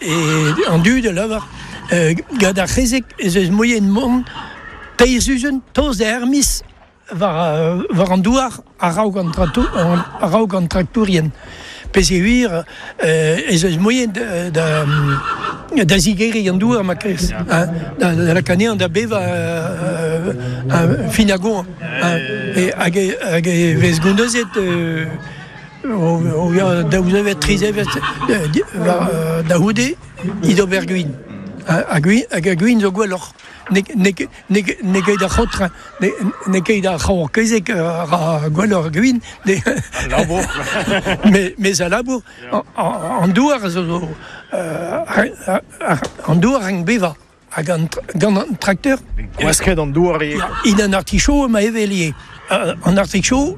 E an dud a lavar gant ar c'hezeg ez eus moaien mont teir sizhun tost da ur miz war, war an douar a-raok an, a-raok an traktourien. Peogwir ez eus moaien da, da, da zigeriñ an douar ma kerz, hein, da, da lakaat anezhañ da bevañ fin ar goañv. Hein, hag, hag e vez gounezet O ya, daou zevezh, tri zevezh da c'houde he d'ober gwin. Ha gwin, hag ar gwin zo gwelloc'h. N'eo ket ar c'haotr, n'eo ket ar c'haour-kezeg a ra gwelloc'h gwin. Al labour. Mes al labour, an douar a zo, an douar a rank bevañ. Hag gant an trakteur... Gwasket an douar ivez. In an artichaut emañ evel ivez. An artichaut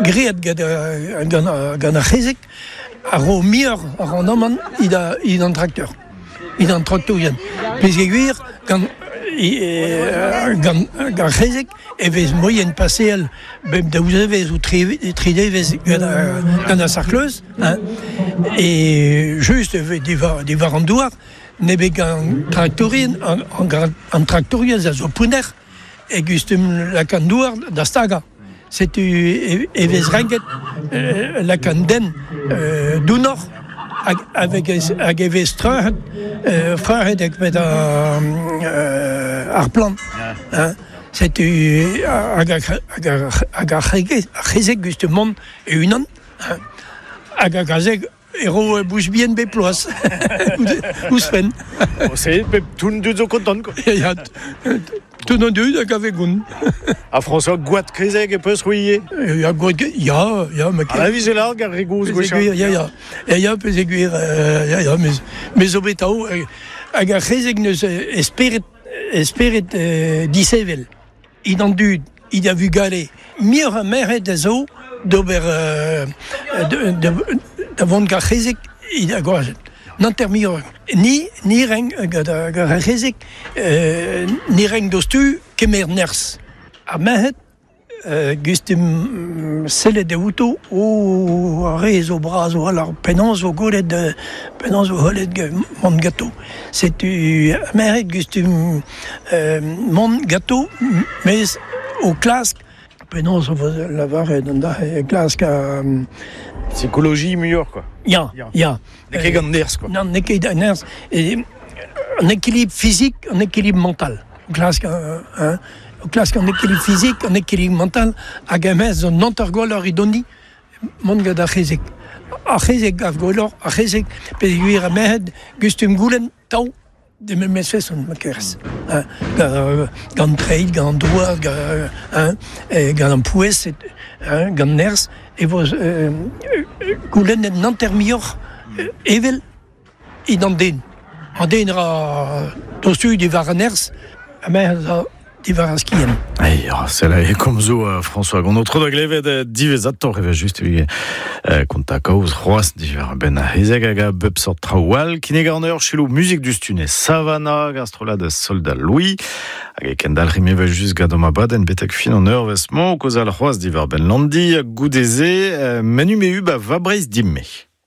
graet gant, gant ar c'hezeg a ro muioc'h a randamant evit an trakteur, evit an traktourien. Peogwir gant, gant ar c'hezeg e vez moaien paseal bep daou zevezh ou tri devezh gant ar sarkleuz hein, e just e vez diwar, diwar an douar ne vez gant traktourien an, an traktourien a zo pounner e gustum lakaat an douar da stagañ. Setu e, e vez renket lakaat an den dounoc'h hag, avec, hag e vez treuc'het, treuc'het met ar plant. Hein. Setu hag ar c'hezeg just mont e-unan hag ar gazeg e ro bouch bihan bep bloaz ouzhpenn. Se, pep tout an dud zo kontant quoi. Ya, tout an dud hag a vez gont. Ha François, gwad kezeg e peus c'hwi ivez? Ya, gwad ya, ya, ma Ah, vije larg ar re gozh gwechall. Ya, ya, ya, ya, peogwir, ya, ya, me zo bet atav hag ar c'hezeg neus e spered E spered disheñvel, hini an dud, hini ar vugale. Muioc'h a merc'hed a zo d'ober da vont gant ar c'hezeg hini ar gwazed. N'hanter muioc'h. Ni, ni renk gant ar c'hezeg, ni renk diouzhtu kemer nerzh. Ar merc'hed Gustum sellet eo outo, o ar re zo bras a-walc'h, penaos vo gwelet penaos vo gwelet mont ganto. Setu merc'hed gustum mont ganto, mes o klask penaos vo lavaret an dra-se, klask ar... Psikoloji muioc'h quoi. Ya, ya. N'eo ket gant nerzh quoi. Non, n'eo ket gant nerzh. An équilibre physique, an équilibre mental. Klask hein, klask an équilibre physique, an équilibre mental, hag e-maez an hanter-gwelloc'h edoni mont gant ar c'hezeg. Ar c'hezeg gav gwelloc'h, ar c'hezeg, peogwir ar merc'hed gustum goulenn tav de memes feson ma kerez. Hein, gant treid, gant an douar, hein, gant an pouez, hein, gant nerzh, e vo goulennet an hanter muioc'h evel It an den. An den ra tostu diwar an nerzh, ha me a diwar ar skiant. Ei, sell e komzoù François gant tro da glevet diwezhatoc'h evel just evit kontañ kaoz c'hoazh diwar benn ar c'hezeg hag a bep sort traoù all. Kinnig an eur selaou muzik diouzhtu ne Savannah gant strollad Soldat Louis hag e kendalc'himp evel just gant ma badenn betek fin an eurvezh-mañ kaozeal c'hoazh diwar benn Landi goude-se menu me ba va Breizh dimme.